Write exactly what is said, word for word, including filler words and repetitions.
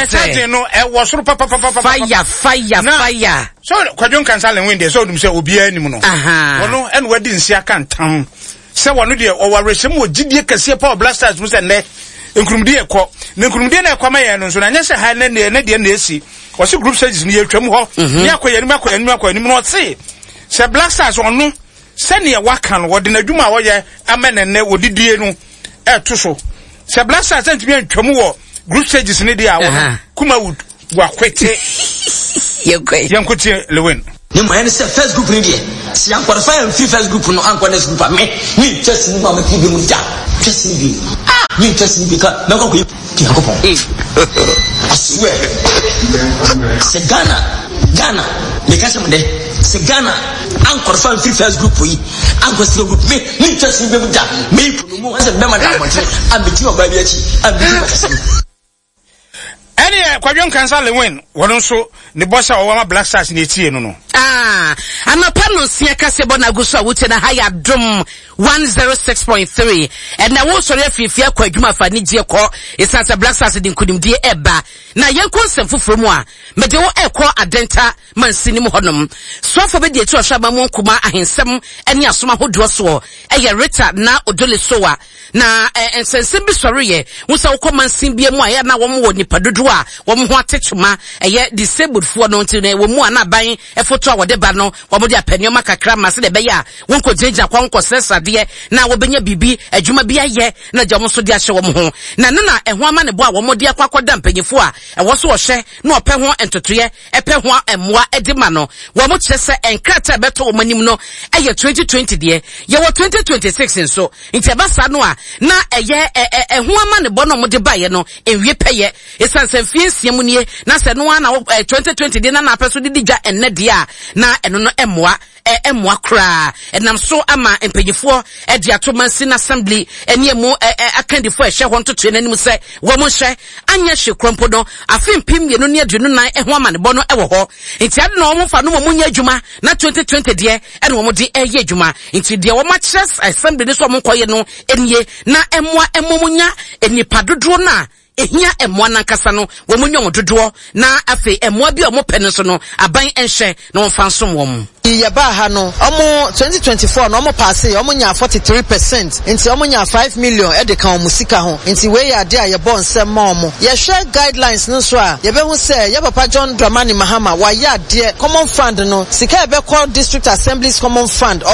Ɛnɛ charging no ɛwɔ soro papapapa. Fire, fire, Na- fire. So Kwadwo Nkansa Lilwin deɛ, sɛ ɔdum sɛ obiara anim no, Aha. ɔno ɛna wadi nsi aka ntam sɛ wɔno deɛ ɔwɔ awerɛhyɛm wɔ gyidie kɛseɛ pa wɔ Black Stars mu sɛ nnɛ nkurumdie ɛkɔ na nkurumdie no ɛkɔ ma yɛn no nso na nyɛ sɛ ha ne ne ne deɛ na esi. Ɔsi group stages no yɛtwam hɔ ne akɔ yɛn anim, akɔ yɛn anim, akɔ yɛn anim. Na ɔse sɛ Black Stars ɔno sɛnea waka no, wɔde n'adwuma a wɔyɛ ama ne nnɛ wɔdidie no ɛɛto so sɛ Black Stars ntumi antwam wɔ group stages no deɛ a, wɔno Aha. Kumawood wakwete. Yɛnkɔ. Yɛnkotie Lilwin. Ne mu ɛne sɛ first group ni deɛ, sɛ yɛn qualify amfiri first group no ankɔ next group a, me me ntwa sini mu a mɛfi bi mu da twa sini bi, ah, me ntwa sini bi ka mɛkɔ kɔ yi Nyankopɔn. I swear sɛ Ghana Ghana meka sɛ mo dɛ sɛ Ghana an qualify amfiri first group yi ankɔ second group, me me ntwa sini bi mu da. Me mu mu sɛ bɛma da abɔntene a megyina ɔbaa bi akyi a megyina kasɛm. Ɛne Kwadwo Nkansa Lilwin, wɔno nso ne bɔ sɛ ɔwɔ ma Black Stars ne etie no no. Ah, anɔpa no nsia kase bɔ n'agu so a wotie na ha yɛ Adom one zero six point three. Ɛnna wosɔre afirifiri akɔ adwuma fa anigyeɛ kɔ, ɛsiane sɛ Black Stars de nkonimdie ɛba. Na yɛnkɔ nsɛm foforɔ mu a mede wo ɛkɔ Adenta mansini mu hɔnom. Soafoɔ bɛdi akyi ɔhwɛ ama mu nkuma ahensɛm ne asom ahodoɔ soɔ ɛyɛ Rita Naa Odoley Sowah, na ɛ nsɛnsɛm bi sɔreyɛ wo sɛ wokɔ mansin bia mu a, ɛyɛ na wɔn wɔ nipa dodoɔ a wɔn ho ate twoma, ɛyɛ disabled foɔ no. Nti na ɛwɔ mu a na aban ɛfoto a wɔde ba no, wɔn de apɛ nneɛma kakra ma sɛdeɛ ɛbɛyɛ a wɔn nkɔ gyinagyina kwan nkɔ srɛsrɛ na wɔbɛnya biribi adwuma bi ayɛ na gya wɔn nso de ahyɛ wɔn ho. Na no na ɛho ama ne bɔ a wɔn de akɔ akɔda mpanyinfoɔ a ɛwɔ so ɔhyɛ na ɔpɛ ho ntotoeɛ, ɛpɛ ho mmoa de ma no. Wɔn kyerɛ sɛ nkrataa ɛbɛtɔ wɔn anim no ɛyɛ twenty twenty deɛ, yɛwɔ twenty twenty-six nso. Nti ɛba saa no a, na ɛyɛ ɛ ɛho ama ne bɔ no a wɔde baeɛ no nwie pɛyɛ, ɛsiane sɛ mfie nsia mu nie na sɛ no ara na ɛ twenty twenty deɛ na n'apɛ so de di dwa ɛnnɛ deɛ a, na ɛno no ɛmmoa, ɛmmoa koraa. Ɛnam so ama mpanyinfoɔ ɛde ato mansin assembly ɛne emu ɛ ɛ akandifoɔ ɛhyɛ hɔ ntotoe n'anim sɛ wɔn nhyɛ anyɛ hwee korɔ mpo no, afe mpem mmienu ne aduonu nan ɛho amanebɔ no ɛwɔ hɔ. Nti ade na wɔn fa no wɔn nyɛ adwuma na twenty twenty deɛ ɛna wɔn de ɛyɛ adwuma. Nti deɛ wɔn akyerɛ assembly no so wɔn nkɔyɛ no nie, na ɛmoa ɛmo mo nya nipa dodoɔ no a ehia mmoa nankasa no, wɔn nyɛ wɔn dodoɔ, na afei mmoa bi a wɔn pɛ no nso no, aban nhyɛ na wɔn fa nsom wɔn. Yɛbaa ha no, ɔmo twenty twenty-four no ɔmo pass, ɔmo nya forty-three percent, nti ɔmo nya five million ɛde ka ɔmo sika ho. Nti wei yɛ ade a yɛbɔ nsɛm ma ɔmo. Yɛhwɛ guidelines no so a, yɛbɛhu sɛ yɛ papa John Dramani Mahama wayɛ adeɛ. Common fund no, sika a ɛbɛkɔ district assemblies common fund.